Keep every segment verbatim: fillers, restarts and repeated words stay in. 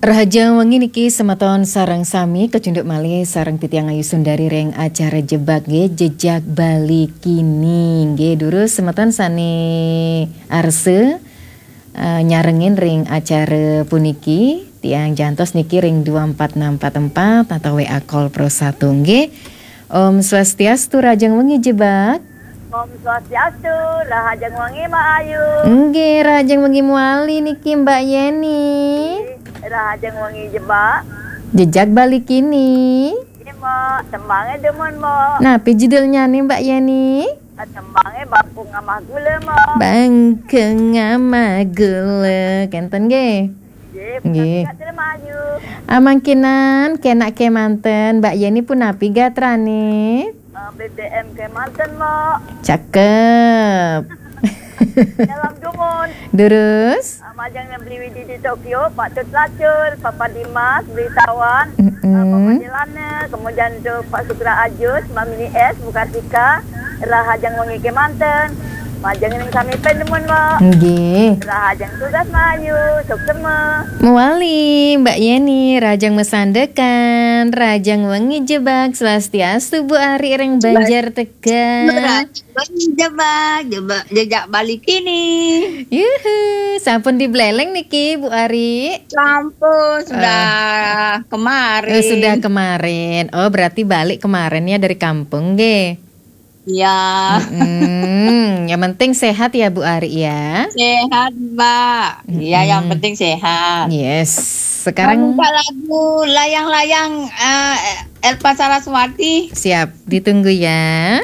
Rahajeng wengi niki semeton sareng sami kecunduk malih sareng titiang Ayu Sundari ring acara Jebak nggih, Jejak Bali Kini. Nggih, durus semeton sane arsa, eh, nyarengin ring acara puniki, tiang jantos niki ring dua empat enam empat empat atau W A call Pro satu nggih. Om Swastiastu, rahajeng wengi Jebak. Om Swastiastu, rahajeng wengi Mbak Ayu. Nggih, rahajeng wengi mawali niki Mbak Yeni. Rahajeng wengi Jebak. Jejak Bali Kini. Nggih, Mbak. Tembange demen, Mbak. Napi judulnyane, Mbak Yeni? Tembange Bangkung Amah Gula, Mbak. Bangkung Amah Gula. Kenten nggih. Nggih, nggih. Punika Mbak Ayu. Amangkinan kenak kemanten, Mbak Yeni punapi gatrane? Eh, B B M kemanten, Mbak. Cakep. Salam dumun. Durus. Ah, majeng Beli Widi di Tokyo, Pak Tut Lacur, Papa Dimas, Beli Tawan, mm-mm, ah, Papa Jelana, kemudian untuk Pak Sukra Ajus, Mbak Mini S, Bu Kartika, rahajeng wengi kemanten. Majeng ring sami penemun, Mbak. Nggih. Rahajeng tugas Mbak Ayu, suksema. Mawali, Mbak Yeni, rahajeng masandekan, rahajeng wengi Jebak, swastiastu Bu Ari ring Banjar Tegal. Rahajeng wengi Jebak, Jebak, Jejak Bali Kini. Yuhu, sampun dibeleleng niki Bu Ari? Sampun, sudah kemarin. Eh, sudah kemarin. Oh, berarti balik kemarin ya dari kampung, nggih? Iya. Mm-mm. Yang penting sehat ya, Bu Ari, ya. Sehat, Mbak. Iya, yang penting sehat. Yes. Sekarang minta lagu Layang-Layang, eh, Elva Saraswati. Siap, ditunggu ya.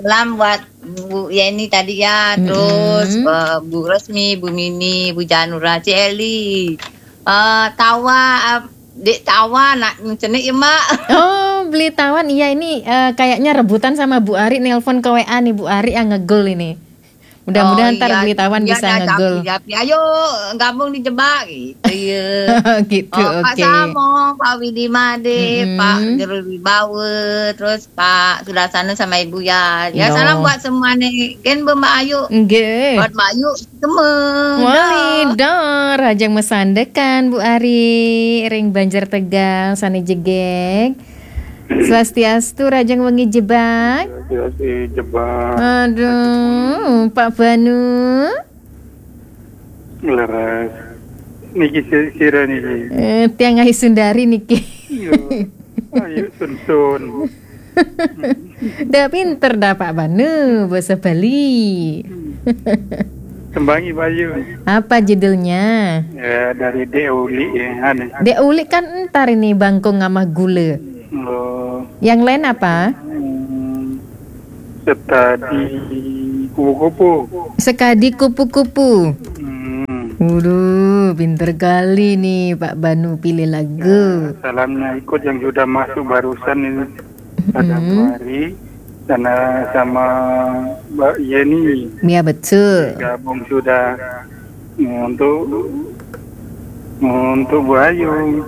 Salam buat Bu Yeni tadi ya, terus, eh, Bu Resmi, Bu Mini, Bu Janura, Ci Eli. Eh, Tawa, eh, Dek Tawa, nak cenik ya, Mbak. Oh, Beli Tawan. Iya, ini, eh, kayaknya rebutan sama Bu Ari nelpon ke W A nih, Bu Ari yang ngegul ini. Mudah-mudahan ntar Beli Tawan bisa ngegul. Ayo gabung di Jebak gitu ya. Gitu, oh, Pak Samo, Pak Widi Made, Pak Gerul Wibawa, terus Pak Sudarsana sama Ibu ya. Ya, salam buat semua nih. Gen Mbak Ayu. Nggih. Buat Mbak Ayu semua. Wali, dah. Rahajeng masandekan, Bu Ari, ring Banjar Tegal, sane jegeg. Swastiastu, rahajeng wengi Jebak. Swastiastu Jebak. Aduh, Pak Banu. Leres. Niki si-, sira niki. Eh, tiang Ayu Sundari niki. Iya. Ayu Sunsun. Dah pinter dah Pak Banu, bahasa Bali. Tembangi Bayu. Apa judulnya? Ya, dari Dek Uli ya, aneh. Dek Uli kan entar ini Bangkung Amah Gula. Oh. Yang lain apa? Hmm, Sekadi Kupu-Kupu. Sekadi Kupu-Kupu. Hmm. Waduh, pinter kali nih Pak Banu pilih lagu. Ya, salamnya ikut yang sudah masuk barusan ini. Ada Bu Ari, sana sama Mbak Yeni. Ya, betul. Gabung sudah. Untuk, untuk Bu Ayu.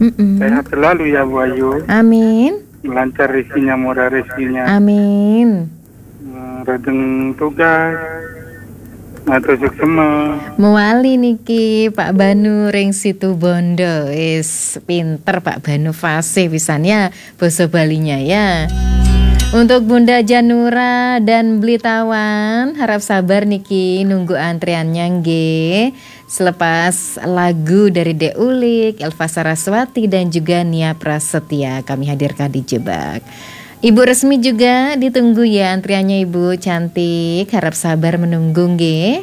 Mm-mm. Sehat selalu ya, Bu Ayu. Amin. Lancar rezekinya, murah rezekinya. Amin. Hmm, rejeng tugas. Matur suksema. Mawali niki Pak Banu ring Situbondo. Wis pinter Pak Banu, fasih pisan ya basa Balinya ya. Untuk Bunda Janura dan Beli Tawan, harap sabar niki nunggu antriannya nggih. Selepas lagu dari Dek Ulik, Elva Saraswati, dan juga Nia Prasetya, kami hadirkan di Jebak. Ibu Resmi juga ditunggu ya antriannya, Ibu cantik. Harap sabar menunggu nggih.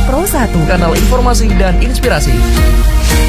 Pro satu, kanal informasi dan inspirasi.